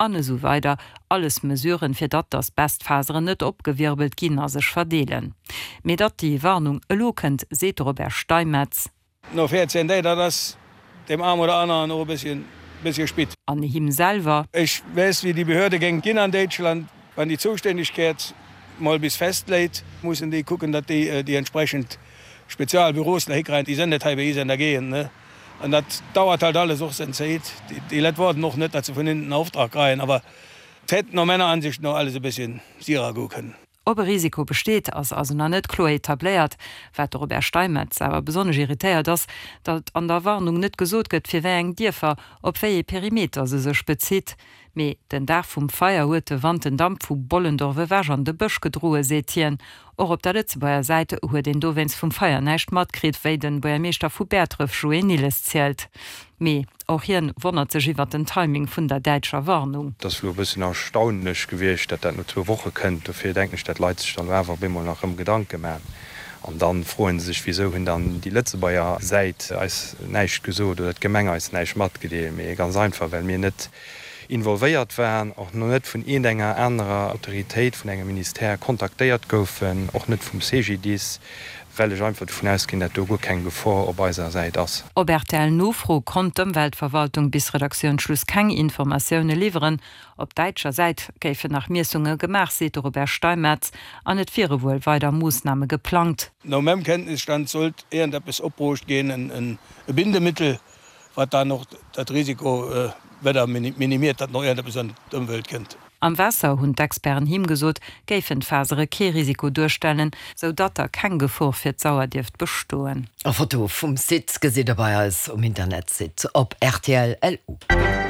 An esou weider Alles Mesuren, fir datt d'Asbestfaseren net opgewirbelt ginn a sech verdeelen. Mee datt déi Warnung elo kënnt, seet de Robert Steimetz. No 14 Däg, dat ass deem arm oder aneren och e bësschen, bëssche spit. An him selwer. Ech weess, wéi déi Behörde géing ginn an Déitschland. Wann déi Zoustännegkeet mol bis festléit, mussen déi kucken, datt déi déi entsprechend Spezialbüros nach hikreien. Déi sënn net hei bei is an der Gegend, ne? An dat dauert halt alles och seng Zéit. Déi Leit woarden och net, datt se vun hinnen en Auftrag kreien, awer et hätt no meiner Ansicht no alles e bësschen sirer goe kënnen. Ob e Risiko besteet, ass also nach net kloer etabléiert. Wat de Robert Steinmetz awer besonnesch irritéiert ass, datt an der Warnung net gesot gëtt, fir wéi eng Dierfer, op wéi ee Perimeter se sech bezitt. Mee den Dag vum Feier huet de Wand den Damp vu Bollendorf ewech an de Bësch gedroe, seet hien. Och op der Lëtzebuerger Säit huet een dowéinst vum Feier näischt matkritt, wéi de Buergermeeschter vu Bäertref Joé Nilles zielt. Mee och hien wonnert sech iwwert den Timing vun der däitscher Warnung. Et ass elo e bëssen erstaunlech gewiescht, datt dat no zwou Woche kënnt. Dofir denken ech, datt d'Leit sech dann elo awer op eemol nach erëm Gedanke maachen. An da froe se sech, Wisou hunn dann déi Lëtzebuerger Säit eis näischt gesot oder d'Gemeng eis näischt matgedeelt? Mee ganz einfach, well mir net involvéiert waren, och net vun iergendenger anerer Autoritéit, vun engem Ministère kontaktéiert goufen, och net vum CGDIS, well ech einfach dovun ausginn, dat do guer keng Gefor op eiser Säit ass. Op RTL-Nofro konnt d'Ëmweltverwaltung bis Redaktiounsschluss keng Informatioune liwweren. Op däitscher Säit géifen nach Miessunge gemaach, seet de Robert Steinmetz, an et wiere wuel weider Moossname geplangt. No mengem Kenntnisstand sollt iergendeppes opbruucht ginn, e Bindemittel, wat dann och dat Risiko weider minimiert, datt nach iergendeppes an d'Ëmwelt kënnt. Am Waasser, hunn d'Experten him gesot, géifen d'Fasere kee Risiko duerstellen, sou datt da keng Gefor fir d'Sauer dierft bestoen. Foto vum Site gesitt der bei eis um Internetsite op rtl. LU.